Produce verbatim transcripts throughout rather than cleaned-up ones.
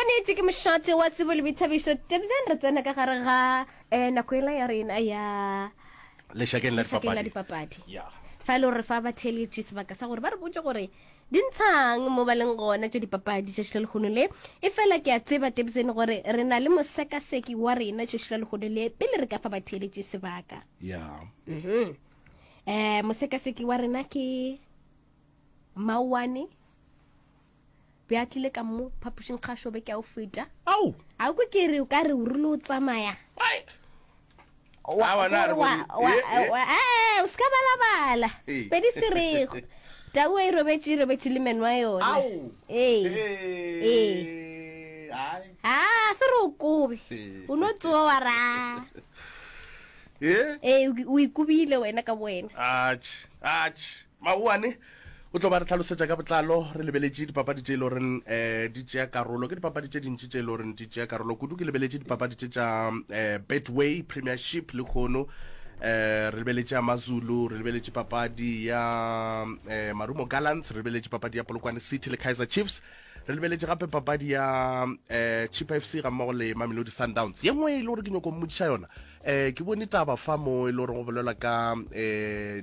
Nnete ke mošate wa tsebo le boithabišo. Tebzen re tsena ka gare ga um nako ela ya rena ya lešakeng la lešakeng la dipapadi. dipapadi. Ya. Fa e le gore fa ba theeletše sebaka sa gore ba re botse gore di ntshang mo ba leng gona tša dipapadi tšatši la lehono le. E fela ke a tseba Tebzen gore re na le mosekaseki wa rena tšatši la lehono le pele re ka fa ba theeletše sebaka. Ya. Mhm. Eh mosekaseki wa rena ke Maoane. Be a tlile ka mo phapošing kgašo be ke a o feta. Au. A kwe ke re o ka re o rile o tsamaya. Ai. Wa- A wena a re wa- bone. wa- Eh, eh. wa- eh, o se ka balabala Eh. sepedi se rego tau e robetše e robetše le meno a yona Au. ee Eh. Ai. a se re o kobe Eh. o no tsoa wa ra Eh. ee o o ikobile wena ka bowena Atjhe, atjhe. Maoane o tlo ba re tlhalosetša ka botlalo re lebeletše dipapadi tše e le goreng um di tšea karolo ke dipapadi tše dintši tše e le goreng di tšea karolo kudu ke lebeletše dipapadi tše tša um Betway Premiership le kgono um re lebeletše Amazulu re lebeletše papadi ya um Marumo Gallants re lebeletše papadi ya Polokwane City le Kaizer Chiefs re lebeletše gape papadi ya um Chippa F C ga mmogo le Mamelodi Sundowns ye nngwe e le gore ke nyako mmotšiša yona um ke bone taba fa mo e le gore go bolelwa ka um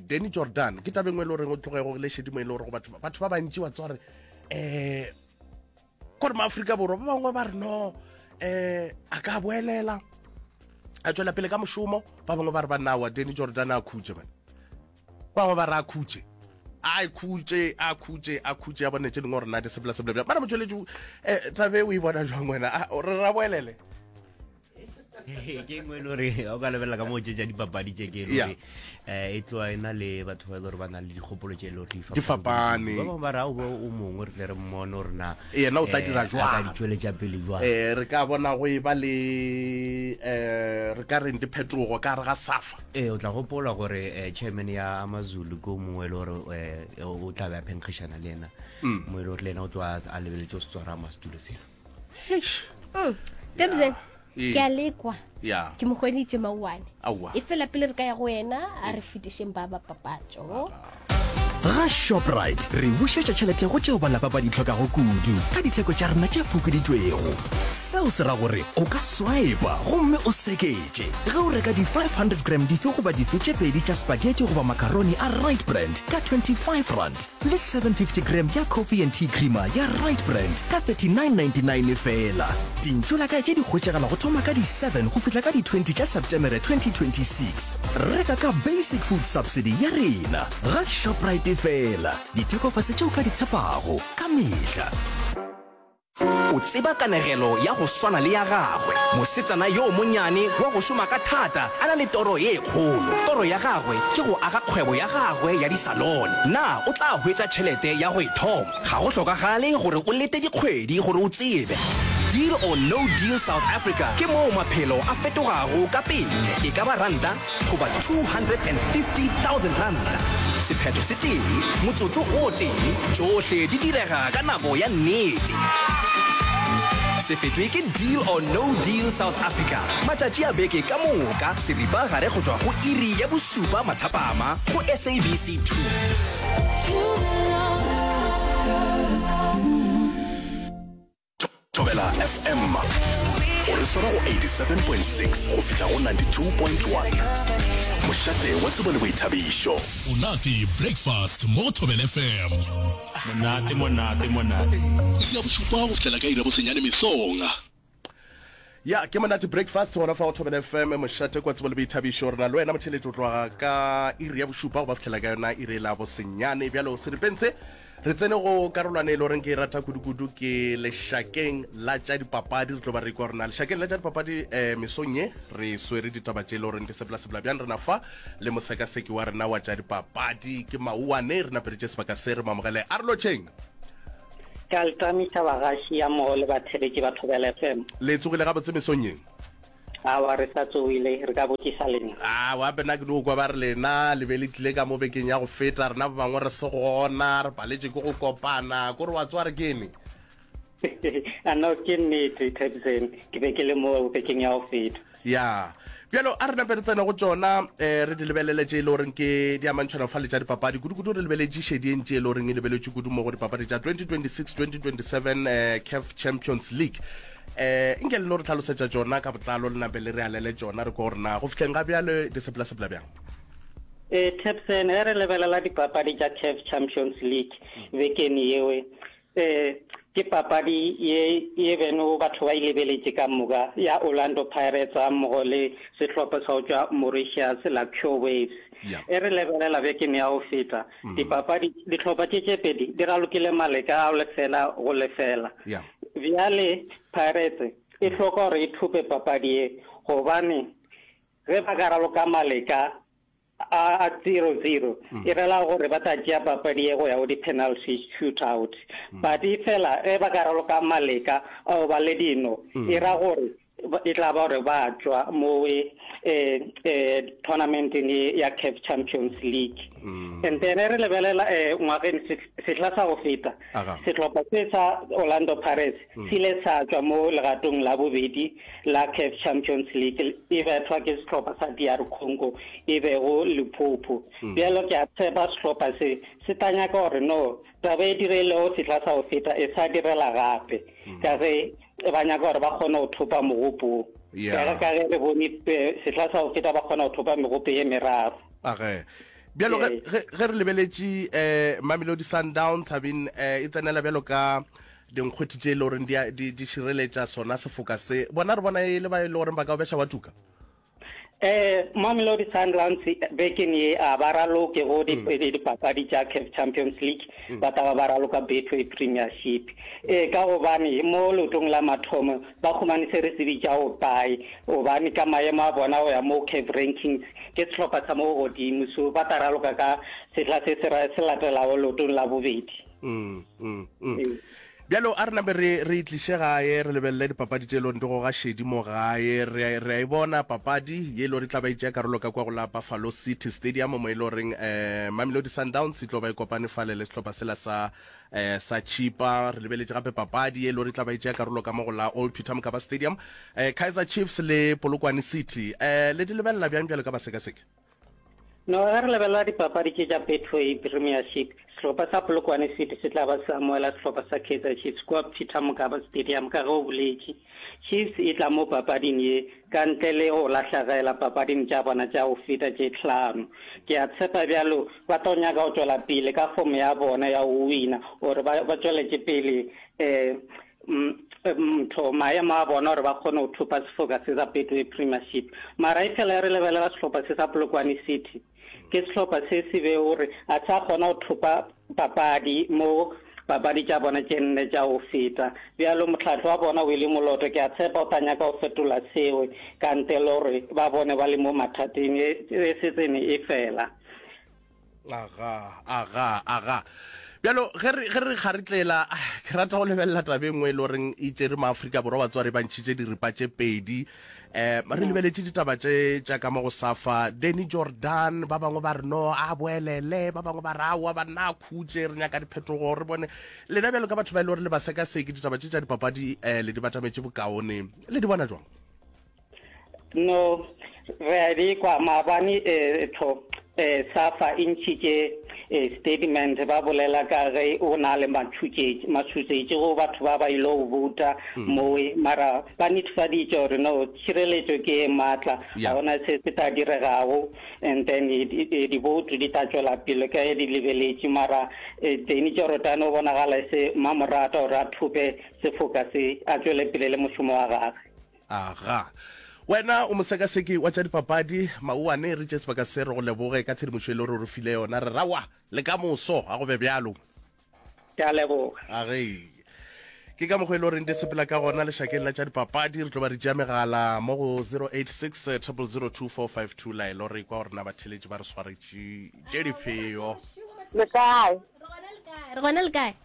Danny Jordan ke taba e nngwe e le goreng o tloge go le šedimo e le gore go batho batho ba bantši wa tswa gore um kore maafrika Borwa ba bangwe ba re no um a ka boelela a tswela pele ka mošomo ba bangwe ba re bannawa Danny Jordan a khutše man ba bangwe ba re a khutše a khutše a khutše a khutše a bone tše dingwe gore na di sepela sepela bjang mara motšweletši um tabe o e bona jwang wena A, re ra boelele ke engwe e le gore ga o ka lebelela ka moo tše tša dipapadi tše ke e le Yeah. gore um e tloa e na le batho ba e le gore ba na le dikgopolo tše e le gore Di fapane. Ba bangwe ba re ao o mongwe re tle re mmone gore na Yena o tla eh, dira a ka jwang. di tšweletša pele jwang um re ka bona go e ba le um re ka reng diphetogo ka gare ga safa ee o tla gopola gore eh, chairman ya Amazulu ke o mongwe e le gore eh, o tla be a phenkgišana le ena Mm. mo e le gore le ena o tloa a lebeletse o se tswara setulo sela Eish. Tebzen Ee. ke a lekwa ya ke mo hweditše Maoane Aowa. e fela pele re ka ya go wena a re fetišeng ba ba papatšo Ga Shoprite re bušetša tšhelete go tšeo ba lapa ba di tlhokago kudu ka ditheko tša rena tše fokoditšwego. Seo se ra gore o ka swipa gomme o seketše ge o reka di five hundred gram dife goba dife tše pedi tša spaghetti goba macaroni a Right Brand ka twenty-five rand le seven fifty gram ya coffee and tea creamer ya Right Brand ka thirty-nine ninety-nine fela. Dintšo la kae tše di hwetšagala go thoma ka di seven go fihla ka di twenty tša Septemere twenty twenty-six. Reka ka Basic Food Subsidy ya rena ga Shoprite fela. Ditheko fase tšeo ka di tshepago ka mehla. O tseba kanegelo ya go swana le ya gagwe, mosetsana yo monnyane wa go šoma ka thata a na le toro ye kgolo. Toro ya gagwe ke go aga kgwebo ya gagwe ya disalone. Na o tla hwetša tšhelete ya go e thoma? Ga go hlokagale gore o lete dikgwedi gore o tsebe. Deal or No Deal South Africa ke moo maphelo a fetogago ka pele, e ka ba ranta goba two hundred and fifty thousand ranta. Sephetho se tee, motsotso o tee, tšohle di direga ka nako ya nnete. Se fetwe ke Deal or No Deal South Africa matšatši a beke ka moka seripa gare go tšwa go iri ya bosupa mathapama go S A B C two. Thobela F M o re swara go eighty-seven point six go fihla go ninety-two point one. Mošate wa tsebo le boithabišo. Monate Breakfast mo Thobela F M. Monate, monate, monate. Iri ya bošupa go fihlela ka iri ya bosenyane mesong. Ya ke Monate Breakfast gona fa go Thobela F M mošate kwa tsebo le boithabišo. Re na le wena motheletši o tloga ka iri ya bošupa go ba fihlela ka yona iri la bosenyane. Bjalo seripeng se re tsene go karolwana e le goreng ke e rata kudu-kudu ke lešakeng la tša dipapadi. Re tlo ba re ikwa rena lešakeng la tša dipapadi um mesong ye re swere ditaba tše e le goreng di sepela-sepela bjang. Rena fa le mosekaseki wa rena wa tša dipapadi ke Maoane, re napeditše sebaka se re mo amogele. A re lotšheng. Ke a le tamiša bagaši ya mmogo le batheletši ba Thobela F M. Le tsogile gabotse mesong ye? Aowa, re sa tsogile, re ka botšiša lena. Aowa, gape nna ke no kwa ba re lena le be le tlile ka mo bekeng ya go feta, rena ba bangwe re se gona, re paletše ke go kopana, kore wa tsoga re kene. A no, ke nnete, Thabiseng, ke be ke le mo bekeng ya go feta. Ya, bjalo a re nape re tsene go tšona, um re di lebelele tše e le goreng ke di amantšhwana fa le tša dipapadi, kudu-kudu re lebeletše šedi e ntši e le goreng e lebeletše kudu mo go dipapadi tša twenty twenty-six twenty twenty-seven um C A F Champions League. Eh nke le no re tlhalosetša tšona ka botlalo le nape le re alele tšona re kwa gore na go fihleng ga bjale di sepela-sepela bjang. Eh Tapson, ge re lebelela dipapadi tša CAF Champions League bekeng yewe, eh ke papadi ye ye beno batho ba e lebeletše ka moka ya Orlando Pirates ga mmogo le sehlopha sa go tšwa Mauritius la Cure Waves. Yeah. E re lebelela bekeng ya go feta, dipapadi dihlopha tše tše pedi di ralokile maleka a lefela go lefela. Yeah. Bjale Pirates e hloka gore e thope papadi ye gobane ge ba ka raloka maleka a a zero zero e rela gore ba tla tšea papadi ye go ya go di-penalty shootout. But e fela ge ba ka raloka maleka ao ba le dino e ra gore e tla ba gore ba tšwa mo eh, eh, tournamenteng ye ya CAF Champions League. And then re lebelela eh, ngwageng sehla sa go feta Aga. sehlopha se sa Orlando Pirates se ile sa tšwa mo legatong la bobedi la CAF Champions League e bethwa ke sehlopha sa DR Congo e bego Lupopo. Bjalo ke a tshepa sehlopha se se tla nyaka gore no taba e dirilego sehla sa go feta e sa direla gape ka ge ba nyaka gore ba kgone go thopa mogopo. Yeah. Ka ka ge re bone eh, sehla sa go feta ba kgona go thopa megopo ye meraro. Age. Bjalo ge Ee. ge ge re lebeletše eh Mamelodi Sundowns Sabine eh e tsenela bjalo ka dinkgwethi tše e le goreng di a- di di šireletša sona sefoka se. Bona re bona e le ba e le goreng ba ka o beša wa tuka. Eh Mamelodi Sundowns bekeng ye a ba raloke go di- di- dipapadi tša CAF Champions League ba tla ba ba raloka Betway Premiership. Eh ka gobane mo leotong la mathomo ba humane se re se bitša go pae gobane ka maemo a bona go ya mo CAF rankings ke sehlopha sa mo godimo so ba tla raloka ka sehla se se ra- se latelago leotong la bobedi. Mm, mm, mm. Bjalo a re nape re re itliše gae re lebelele dipapadi tše e leng di goga šedi mo gae re re a e bona papadi ye e le gore e tla ba e tšea karolo ka kwa go la Buffalo City Stadium mo e le goreng eh Mamelodi Sundowns e tlo ba e kopane fale le sehlopha sela sa eh sa Chipa re lebeletše gape papadi ye e le gore e tla ba e tšea karolo ka mo go la Old Peter Mokaba Stadium eh Kaizer Chiefs le Polokwane City eh le di lebelela bjang bjalo ka basekaseki No, ge re lebelela dipapadi tše tša Betway Premiership, sehlopha sa Polokwane City se tla ba se amohela sehlopha sa Kaizer Chiefs kua Peter Mokaba Stadium ka ge o boletše. Chiefs e tla mo papading ye ka ntle le go lahlegela papading tša bona tša go feta tše hlano. Ke a tshepa bjalo ba tlo nyaka go tšwela pele ka fomo ya bona ya go wina gore ba ba tšweletše pele eh ntho maemo a bona gore ba kgone go thopa sefoka se sa Betway Premiership. Mara e fela re lebelela sehlopha se sa Polokwane City ke sehlopha se se be gore a sa kgona go thopa papadi mo papadi tša bona tše nne tša go feta. Bjalo mohlahli wa bona Willie Moloto ke a tshepa o tla nyaka go fetola seo ka ntle le gore ba bone ba le mo mathateng e e setsene e fela. Aga, aga, aga. Bjalo ge re ge re kgaritlela ke rata go lebelela taba e nngwe e le goreng e tšere maAfrika Borwa batswari ba ntšhitše diripa tše pedi eh re lebeletše ditaba tše tša ka mo go Safa Danny Jordan ba bangwe ba re no a boelele ba bangwe ba re aowa banna a khutše re nyaka diphetogo re bone lena bjalo ka batho ba e le gore le ba sekaseke ditaba tše tša dipapadi eh le di batametše bokaone le di bona jwang No, re a di kwa maabane eh tho eh Safa e ntšhitše eh, statement ba bolela ka ge o na le matšhutšetši matšhutšetši go batho ba ba ile go bouta mowe mara ba netefaditše gore no tšhireletšo ke e maatla Yeah. ga gona se se tla diregago and then diboutu di tla tšwela pele ka ge di lebeletše mara eh, Danny Jordaan o bonagala e se mmamorata gore a thope sefoka se a tšwele pele le mošomo wa gagwe. Aga. Wena o mosekaseki wa tša dipapadi, Mauwane, re tše sebaka se re go leboge ka tshedimošo e le gore o re file yona. Re rawa le ka moso, a go be bjalo. Ke a leboga. Age. Ke ka mokgwa e le goreng di sepela ka gona lešakeng la tša dipapadi. Re tlo ba re tšea megala mo go zero eight six triple zero two four five two laelo re kwa gore na batheletši ba re swaretše tše difeo. Le kae? Re gona le kae?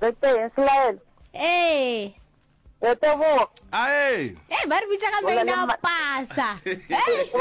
Re teng, Selaelo. Ee. Re teboga. Ae. Ee, ba re bitša ka Bolela maina a ma- pasa. Hey.